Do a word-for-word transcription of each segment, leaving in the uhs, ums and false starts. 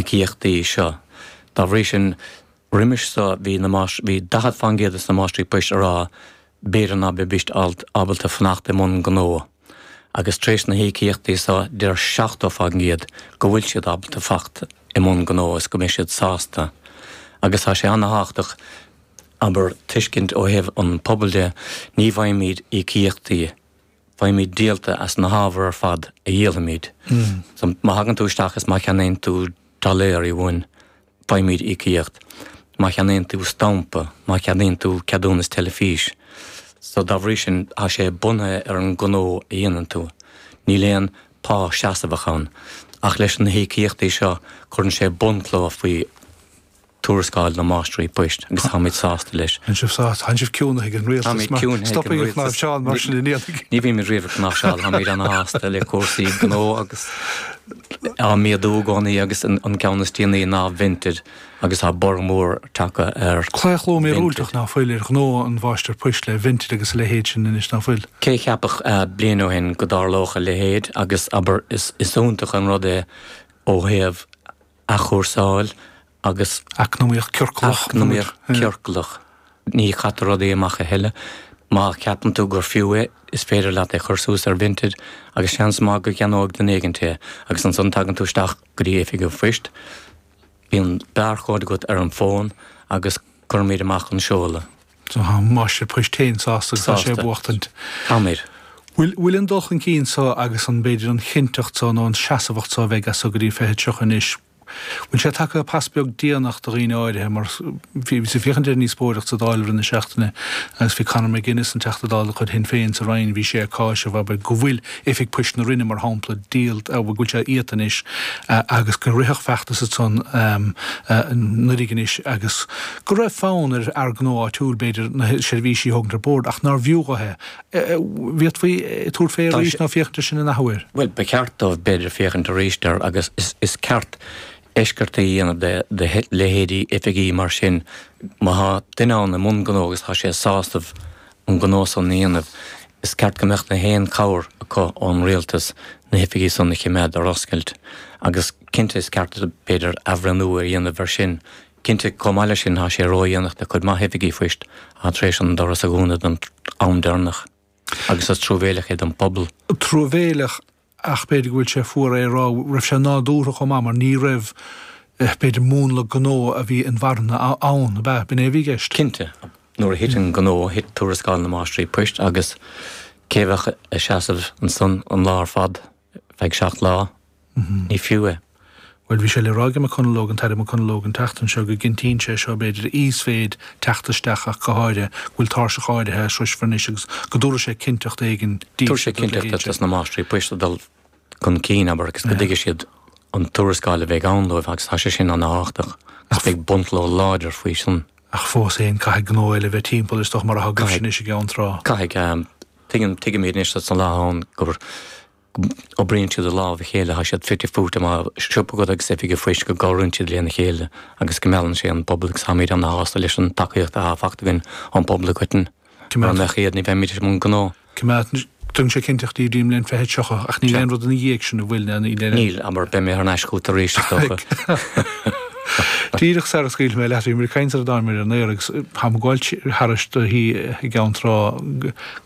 híocaíochtaí seo. Dá bhrí sin roimis so bhí na bhí daichead faoin gcéad de na máistrí poist a rá b'fhéidir ná beidís ábalta fanacht i mbun gnó. Agus tar éis na híocaíochtaí so deir seachtó faoin gcéad go bhfuil siad ábalta fanacht i mbun gnó is go mbeidh siad sásta. Agus tá sé an-tábhachtach abair tuiscint ó thaobh an pobal de ní bhfaighimid íocaíochtaí faighimid díolta as na hábhair ar fad a dhíolfaimid. Mm. So má thagann tú isteach is má cheannaíonn tú doiléirí uainn faighimid íocaíocht. Má cheannaíonn tú stampa, má cheannaíonn tú ceadúnas teilifís. So dá bhrí sin tá sé bunaithe ar an gnó a dhéanann tú. Níl aon pá seasamhach ann. Ach leis na híocaíochtaí seo cuireann sé bunchloch faoi tuarascáil na máistrí poist agus táimid sásta leis. An sibh sásta an sibh ciúnaithe ag an rialtas Stopfaidh cnáimhseáil mar sin in iad. Ní bhímid riamh ag cnáimhseáil táimid an-sásta le cúrsaí gnó agus á méadú i gcónaí agus an ceann is déanaí ná Vinted agus tá borradh mór tagtha ar. Claochló míorúilteach ná fuil ar ghnó an mháistir poist le Vinted agus a leithéid sin anois ná fuil. Cé cheapfadh bliain ó shin go dtarlódh a leithéid agus abair is iontach an rud é ó thaobh athchúrsáil agus eacnamaíocht ciorclach eacnamaíocht ciorclach ní chaitear rudaí amach a thuilleadh má cheapann tú gur fiú é is féidir leat é chur suas ar Vinted agus seans maith go gceannóidh duine éigin é agus ansan tagann tú isteach go dtí oifig an phoist bíonn barcode agat ar an bhfón agus cuirimid amach an seoladh. So tá máistir poist féin sásta agus tá sé buachtaint. Táimid. Bhfuil bhfuil an dul chun cinn so agus an b'fhéidir an chinnteacht so nó an seasamhacht so a bheidh as so go dtí fiche tríocha anois Bhfuil sé tagtha pas beag déanach do dhaoine áirithe mar bhí bhí féachaint ar an ndíospóireacht sa Dáil roimh na seachtaine agus bhí Conor McGuinness an Teachta Dála de chuid Shinn Féin sa Rinn bhí sé ag cáiseamh abair go bhfuil oifig poist na Rinne mar shampla díolta go bhfuil sé iata anois agus go ritheadh feachtas ansan anuraidh anois agus go raibh fonn ar fhear gnó áitiúil b'fhéidir na seirbhísí a thógaint ar bord ach nár bhfiú dho é. Bhféadfaí tabhairt fé arís nó féachaint air sin in athuair? Bhuel ba cheart dóibh b'fhéidir féachaint arís air agus is ceart eisceachtaí a dhéanamh de leithéidí oifigí mar sin. Má tá duine ann i mbun gnó agus tá sé sásta an gnó san a dhéanamh, is ceart go mbeadh na haon chabhair acu ón rialtas na hoifigí san a choimeád ar oscailt. Agus cinnte is ceart b'fhéidir athbhreithniú a dhéanamh ar sin. Cinnte chomh maith leis sin tá sé ródhéanach do chuid maith oifigí phoist atá tar éis an doras a dhúnadh don am deireanach. Agus is truamhéileach é don phobal. Truamhéileach ach b'fhéidir go bhfuil sé fuar é a rá, raibh sé nádúrtha chomh maith mar ní raibh b'fhéidir múnla gnó a bhí inmharthana ann, ab ea? B'in é a bhí i gceist. Cinnte. Nuair a thit an gnó, thit tuarascáil na máistrí poist agus cé bheadh ag seasamh ansan an lá ar fad feadh seacht lá? Ní fiú é. Bhuel, bhí sé le rá ag McConalogue, an tAire McConalogue, an tseachtain seo go gcinntíonn sé seo, b'fhéidir, íosmhéid teacht isteach ach go háirithe, go bhfuil tairseach áirithe a sroisfear anois agus go dtabharfaidh sé cinnteacht éigin Tabharfaidh sé cinnteacht dos na máistrí poist a dul chun cinn, abair, agus go dtuigfidh siad an tuarascáil a bheidh ann dóibh agus tá sé sin an-tábhachtach agus beidh bunchloch láidir faoi sin. Ach fós féin, caithfidh gnó eile bheith timpeall, is dócha, mar atá agaibhse anois i gCeann Trá. Caithfidh. Tuigim, tuigimid anois sa lá ann gur oibríonn siad i lámh a chéile, tá siad fite fuaite, má siopa agat agus oifig an phoist go gcabhraíonn siad lena chéile agus go meallann sé an pobal agus táimid ana-shásta leis an tacaíocht atá faighte againn ón bpobal i gcoitinne. Mura mbeadh iad ní bheimid i mbun gnó. Coimeád, tugann sé cinnteacht daoibh don bhliain fiche tríocha ach níl aon rud ina dhiaidh sin an bhfuil, níl aon. Níl, abair, beidh mé thar n-ais chugat arís is dócha. Díreach sara scaoilfidh mé leat, bhí muid ag caint sar a dtáinig muid ar an aer agus táim ag gabháil thairis do thí i gCeann Trá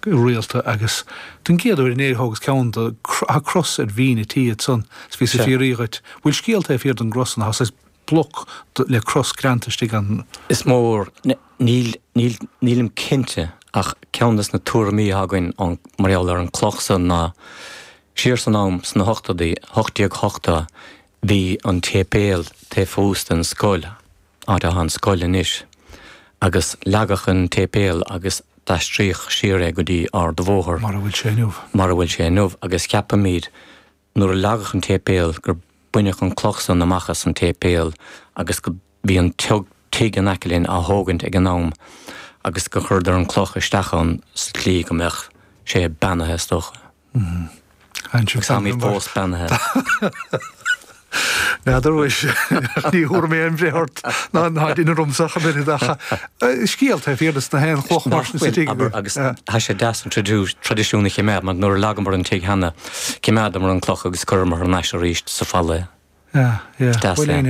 go rialta agus don gcéad uair in Éirinn thógas ceann de, tá cros ar bhinn an tí ansan is bhíos ag fiafraí dhuit, bhfuil scéal taobh thiar den gcros san, tá saghas bloc le cros greanta istigh ann. Is mór, níl, níl, nílim cinnte ach ceann des na tuairimí atá againn mar gheall ar an cloch san ná siar san am sna hochtóidí, hocht déag ochtó, Bhí an tséipéal taobh thuas den scoil, áit atá an scoil anois, agus leagadh an tséipéal agus d'aistríodh siar é go dtí Ard a' Bhóthair. Mar a bhfuil sé inniu. Mar a bhfuil sé inniu, agus ceapaimid, nuair a leagadh an tséipéal, gur baineadh an cloch san amach as an tséipéal agus go bhí an tigh in aice linn á thógaint ag an am agus gur chuireadar an cloch isteach ann sa tslí go mbeadh sé beannaithe is dócha. Agus táimid fós beannaithe. N'fheadar mhuis, ní thabharfaidh mé aon bhreith ort ná ná duine romhamsa ach an oiread ach scéal taobh thiar de na haon chloch mar sin sa tigh. Abair, agus tá sé deas an traidisiún a choimeád mar nuair a leagamar an tigh cheana, choimeádamar an cloch agus chuireamar thar n-ais arís sa falla é. Yeah, yeah. Is deas é.